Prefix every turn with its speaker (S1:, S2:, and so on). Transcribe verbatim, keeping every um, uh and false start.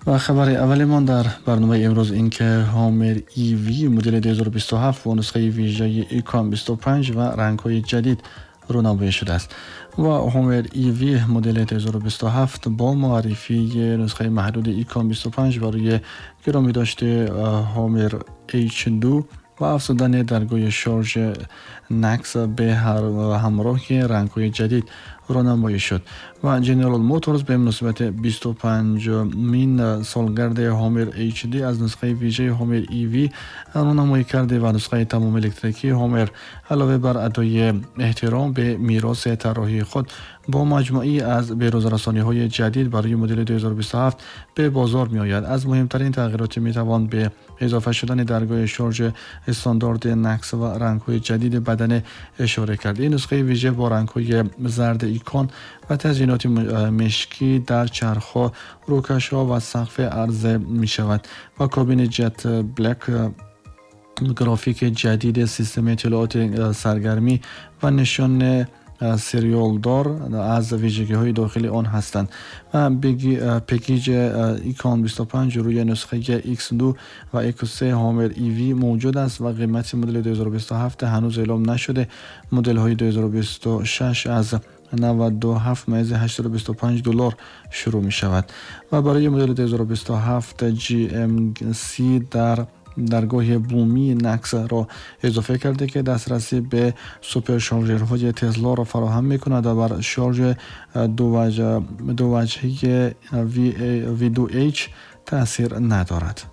S1: و خبر اولمان در برنامه امروز این که هامر ای وی مدل دو هزار و بیست و هفت با نسخه ویژه ایکان بیست و پنج و رنگ‌های جدید رونمایی شده است. و هامر ای وی مدل دو هزار و بیست و هفت با معرفی نسخه محدود ایکان بیست و پنج برای گرامی داشته هامر اچ دو و افزودن درگاه شارژ نکس به هر همراه رنگ‌های جدید رونمایی شد. و جنرال موتورز به مناسبت بیست و پنجمین سالگرد هامر اچ دی از نسخه ویژه هامر ای وی رونمایی کرده و نسخه تمام الکتریکی هامر علاوه بر ادای احترام به میراث طراحی خود با مجموعی از به‌روزرسانی‌های جدید برای مدل دو هزار و بیست و هفت به بازار می‌آید. از مهمترین تغییرات می‌توان به اضافه شدن درگاه شارژ استاندارد نکس و رنگ‌های جدید بدنه اشاره کرد. این نسخه ویژه با رنگ‌های زرد ایکون و تزیینات مشکی در چرخ‌ها، روکش‌ها و سقف عرضه می‌شود و کابین جت بلک، گرافیک جدید سیستم اطلاعات سرگرمی و نشان سریال دار از ویژگی‌های داخلی آن هستند. و بگی-، پکیج ایکان بیست و پنج روی نسخه ایکس دو و ایکس سه هامر ای وی موجود است و قیمت مدل دو هزار و بیست و هفت هنوز اعلام نشده. مدل‌های دو هزار و بیست و شش از نود و هفت ممیز هشتصد و بیست و پنج دلار شروع می شود و برای مدل دو هزار و بیست و هفت جی ام سی در درگاه بومی نکس را اضافه کرده که دسترسی به سوپر شارژرهای تسلا را فراهم می کند و بر شارژ دو وجه، دو وجهی وی دو اچ تاثیر ندارد.